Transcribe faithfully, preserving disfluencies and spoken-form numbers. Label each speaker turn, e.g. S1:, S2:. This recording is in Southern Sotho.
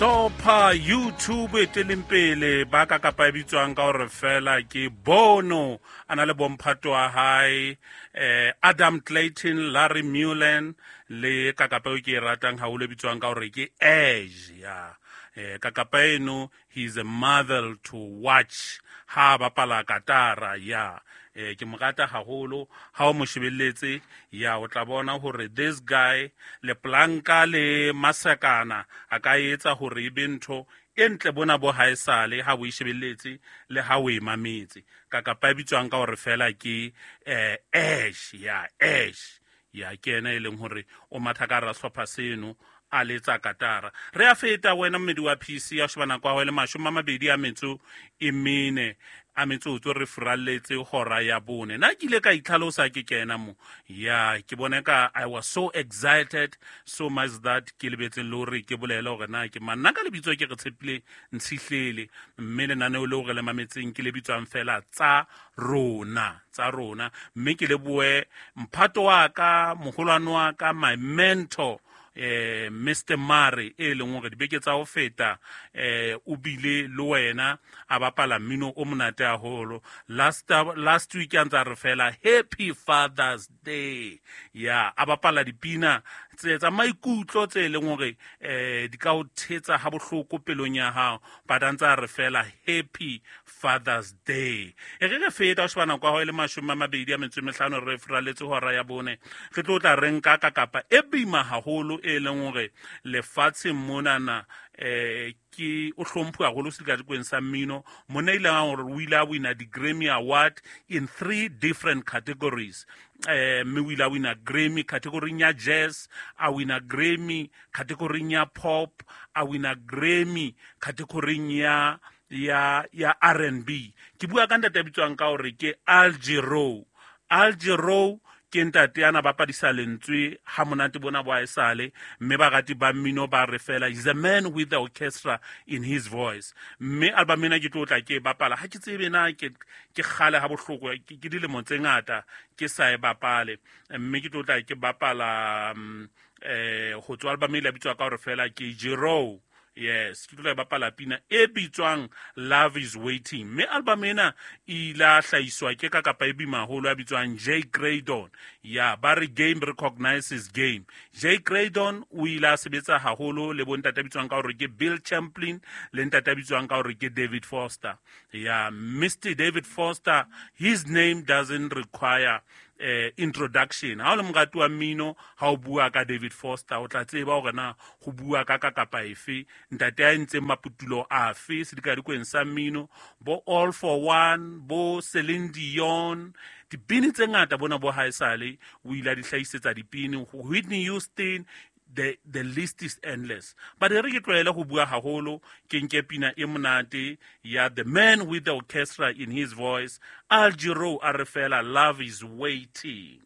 S1: Hlopha YouTube e teleng pele ba ka kapa e bitswang ka hore fela ke Bono, a na le bomphato wa hae eh Adam Clayton, Larry Mullen le kakapa eo ke e ratang haholo e bitswang ka hore ke Edge. Ya eh kakapa eno, he is a marvel to watch ha bapala katara. Ya eh ke mo rata haholo. Ha o mo shebelletse, ya o tla bona hore this guy le planka le masakana a ka etsa hore e be ntho e ntle bona bo haesale ha o e shebelletse le ha o e mametse. Kakapa e bitswang ka hore fela ke eh Ash. Ya Ash, ya ke ena e leng hore o matha ka hara sehlopha seno a letsa katara. Re a feta wena mmedi wa P C ya sheba nako ya hao e le mashome a mabedi a metso e mene a metsotso re furalletse hora ya bone. Nna ke ile ka itlhalosa ke kena mo, ya ke bone ka I was so excited so much that ke lebetse le hore ke bolele hore na ke mang. Nna ka lebitso ke re Tshepile Ntshihlele, mme lenaneo leo re le mametseng ke le bitswang fela Tsa Rona, Tsa Rona. Mme ke lebohe mphato wa ka, moholwane wa ka, my mentor, eh Mister Mare, e leng hore dibeke tsa ho feta eh o bile le wena a bapala mmino o monate haholo. last last week a ntsa re fela "Happy Father's Day". Ya a bapala dipina tse tsa maikutlo tse leng hore eh di ka o thetsa ha bohloko pelong ya hao, but a ntsa re fela "Happy Father's Day". E re re feta o sheba nako ya hao e le mashome a mabedi a metso e mehlano re furaletse hora ya bone. Re tlo tla re nka ka kapa e boima haholo e leng hore lefatsheng monana eh ke o hlomphuwa haholo sedikadikweng sa mmino. Monna ile a hore o ile a wina di-Grammy Award in three different categories, eh mme o ile a wina Grammy category ya jazz, a wina Grammy category ya pop, a wina Grammy category ya ya ya R and B. Ke bua ka ntate a bitswang ka hore ke Al Jarreau. Al Jarreau ke ntate ana bapadisa lentswe ha monate bona bo haesale, mme barati ba mmino ba re fela is a man with the orchestra in his voice. Mme album ena ke tlo tla ke e bapala, ha ke tsebe na ke ke kgale ha bohloko, ke ke dilemo tse ngata ke sa e bapale, mme ke tlo tla ke bapala um, eh ho tswa album e le bitswa ka hore fela ke Jarreau. Yes, ke tlo bapala pina e bitswang "Love Is Waiting". Mme album ena e ile a hlahiswa ke ka kapa e boima haholo ya bitswang Jay Graydon. Ya ba re game recognizes game. Jay Graydon o ile a sebetsa haholo le bontate a bitswang ka hore ke Bill Champlin le ntate a bitswang ka hore ke David Foster. Ya Mister David Foster, his name doesn't require eh introduction. Ha o le morati wa mmino, ha o bua ka David Foster o tla tseba hore na ho bua ka ka kapa efe, ntate a entseng maputulo afe sedikadikweng sa mmino, bo "All for One", bo Celine Dion, dipini tse ngata bona bo haesale o ile a di hlahisetsa dipini, Whitney Houston, the the list is endless. But e re ke tlohele ho bua haholo, ke nke pina e monate ya the man with the orchestra in his voice, Al Jarreau, a re fela "Love Is Waiting".